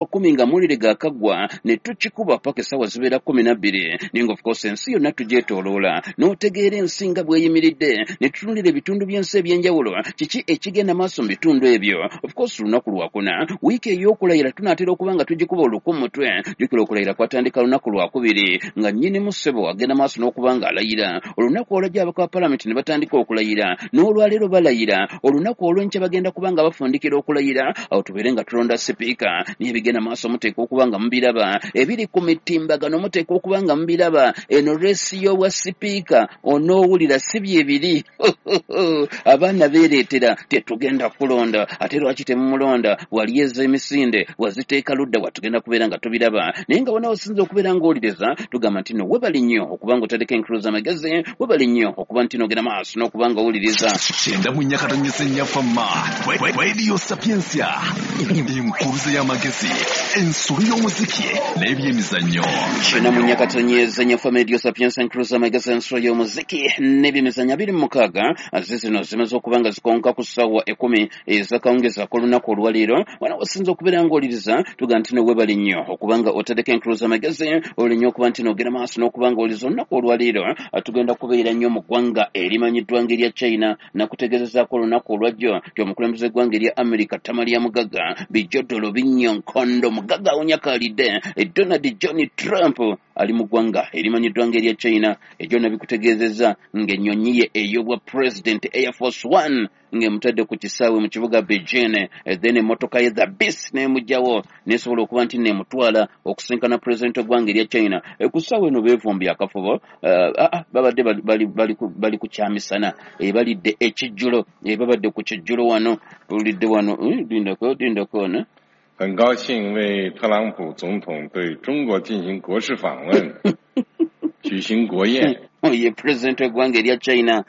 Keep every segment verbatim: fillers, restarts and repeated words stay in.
kumi nga amawulire gaakaggwa ne tukikuba paka essaawa zibeera kumi na bbiri. Naye nga of course ensi yonna tugyetooloola n'otegeera ensi nga bw'eyimiridde, ne tutunulira ebitundu by'ensi eby'enjawulo, kiki ekigenda maaso mu bitundu ebyo. Of course lunaku lwakuna, wiiki ey'okulayira tunaatera okuba nga tugikuba oluku mu mutwe. Jjukira okulayira kwatandika lunaku lwakubiri nga nnyinimu ssebo agenda maaso n'okuba nga alayira. Olunaku olwajja ababaka ba palamenti ne batandika okulayira, n'olwaleero balayira. Olunaku olw'enkya bagenda kuba nga bafundikira okulayira, awo tubeere nga tulonda sipiika. Naye ebigenda maaso muteekwa okuba nga mubiraba, ebiri ku mitimbagano muteekwa okuba nga mubiraba. Eno reesi y'obwa sipiika onoowulira si byebiri. Abaana beereetera tetugenda kulonda, ate lwaki temumulonda? Wali ez'emisinde waziteeka ludda wa? Tugenda kubeera nga tubiraba. Naye nga wona osinza okubeera ng'owuliriza, tugamba nti no webale nnyo okuba nga otandika enkuluza amagezi, webale nnyo okuba nti n'ogenda maaso n'okuba nga owuliriza. Kyenda mu nnya katonyeze nnya fama Radio Sapientia, enkuruza y'amagezi, ensolo y'omuziki n'ebyemizannyo. Kyenda mu nnya katonyeze nnya fama Radio Sapientia, enkuruza amagezi, ensolo y'omuziki n'ebyemizannyo. Abiri mu mukaaga zizino zimaze okuba nga zikonka ku ssaawa ekkumi ez'akawungeezi ak'olunaku olwaleero. Wano osinza okubeera ng'owuliriza, tugamba nti no webale nnyo okuba nga otandika enkuluza amagezi, oli nnyo okuba nti n'ogenda maaso n'okuba nga owuliriza. Olunaku olwaleero tugenda kubeera nnyo mu ggwanga erimanyiddwa ng'erya China. Nakutegeezezaako olunaku olwajjo nti omukulembeze w'eggwanga erya America Tamalia Mugagga Bijodolo Binnyo Nkondo Mugagga awunyakaalidde Donald John Trump ali mu ggwanga erimanyiddwa ng'erya China. Ekyo nabikutegeezezza ng'ennyonyi ye ey'obwa president Air Force One ng'emutadde ku kisaawe mu kibuga Beijing, then emmotoka ye The Beast n'emugjawo nesobola okuba nti neemutwala okusinkana pulezidenti w'eggwanga erya China. Ku ssaawa eno beevumbye akafubo, babadde bali ku kyamisana, balidde ekijjulo, babadde ku kijjulo wano tulidde wano. Lindako, lindako wano. 很高兴为特朗普总统对中国进行国事访问举行国宴。 Ye pulezidenti w'eggwanga erya China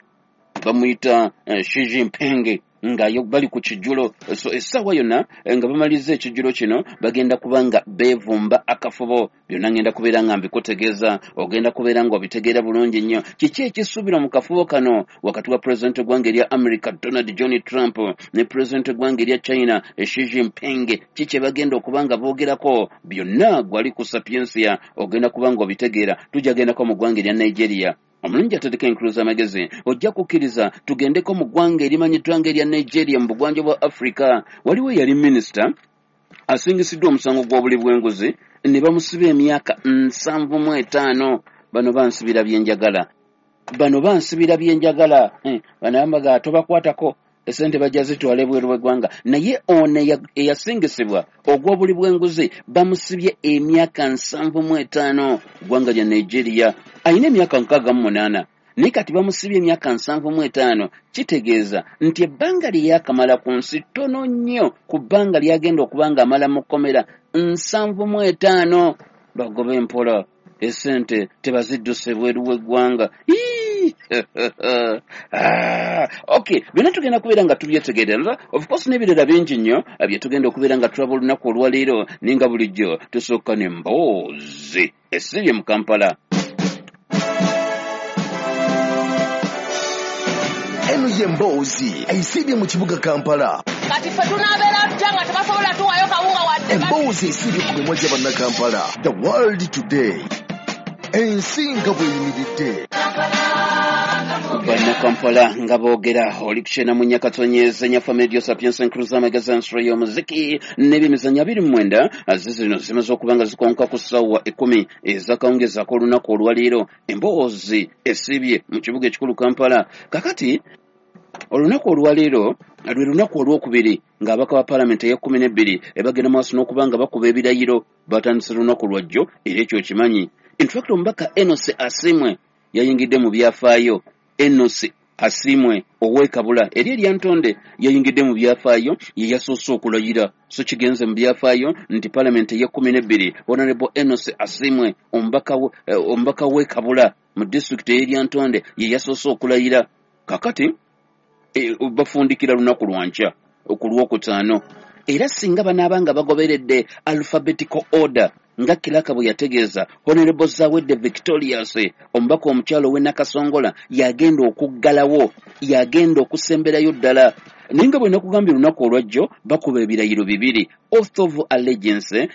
bamuyita Xi Jinping nga bali ku kijjulo. So essaawa yonna nga bamaliriza ekijjulo kino bagenda kuba nga beevumba akafubo. Byonna ngenda kubeera nga mbikutegeeza, ogenda kubeera nga obitegeera bulungi nnyo kiki ekisuubirwa mu kafubo kano wakati wa pulezidenti w'eggwanga erya America Donald John Trump ne pulezidenti w'eggwanga erya China Xi Jinping. Ki kye bagenda okuba nga boogerako? Byonna gwali ku Sapiensia ogenda kuba nga obitegeera. Tujja gendako mu ggwanga erya Nigeria. Omulungi atandika enkuluza amagezi, ojja kukkiriza tugendeko mu ggwanga erimanyiddwa ng'erya Nigeria mu bugwanjuba bwa Africa. Waliwo eyali minisita asingisiddwa omusango gw'obuli bw'enguzi ne bamusiba emyaka nsanvu mu etaano. Bano bansibira byenjagala, bano bansibira byenjagala. Bano bambaga tobakwatako, esente bajja zitwala ebweru w'eggwanga. Naye ono eyasingisibwa ogw'obuli bw'enguzi bamusibye emyaka nsanvu mu etaano ggwanga lya Nigeria. Ayina emyaka nkaaga mu munaana, naye kati bamusibye emyaka nsanvu mu etaano. Kitegeeza nti ebbanga lye yaakamala ku nsi ttono nnyo ku bbanga ly'agenda okuba ng'amala mu kkomera, nsanvu mu etaano. Bagobe empola, esente tebazidduse bweru w'eggwanga. Ah, okay, byonna tugenda kubeera nga tubyetegereza, of course n'ebirala bingi nnyo bye tugenda okubeera nga tulaba olunaku olwaleero. Naye nga bulijjo tusooka n'emboozi esibye mu Kampala. Eno y'emboozi esiibye mu kibuga Kampala. Kati ffe tunaabeera tutya nga tebasobola tuwayo kawunga wadde? Emboozi esiibye ku mimwa gya Bannakampala. The World Today, ensi nga bw'eyimiridde. Bannakampala nga boogera. Oli kukyena mu nyakatonyeze nyafa Medio Sapiensa, enkuluza amagezi, ensolo y'omuziki n'ebyemizannyo. Abiri mu mwenda zizino zimaze okuba nga zikonka ku ssaawa ekkumi ez'akawungeezi ak'olunaku olwaleero. Emboozi esiibye mu kibuga ekikulu Kampala. Kakati olunaku olwaleero lwe lunaku olwokubiri ng'ababaka ba paalamenti ey'ekkumi n'ebbiri ebagenda maaso n'okuba nga bakuba ebirayiro. Batandise lunaku lwajjo, era ekyo okimanyi. Infact omubaka Enos Asimwe yayingidde mu byafaayo. Enos Asimwe ow'e Kabula eri eryantonde yayingidde mu byafaayo, ye yasoose okulayira. So kigenze mu byafaayo nti paalamenti ey'ekkumi n'ebbiri, Honorable Enos Asimwe omubaka omubaka w'e Kabula mu disitulikiti ey'eryantonde ye yasoose okulayira. Kakati e, bafundikira lunaku lwankya ku Lwokutaano, era singa banaaba nga bagoberedde alphabetical order nga kiraka bwe yategeeza, Honorable Zawedde Victorious, omubaka omukyalo ow'e Nakasongola, yagenda okuggalawo, yagenda okusemberayo ddala. Naye nga bwe nakugambye, olunaku olwajjo bakuba ebirayiro bibiri, oath of allegiance.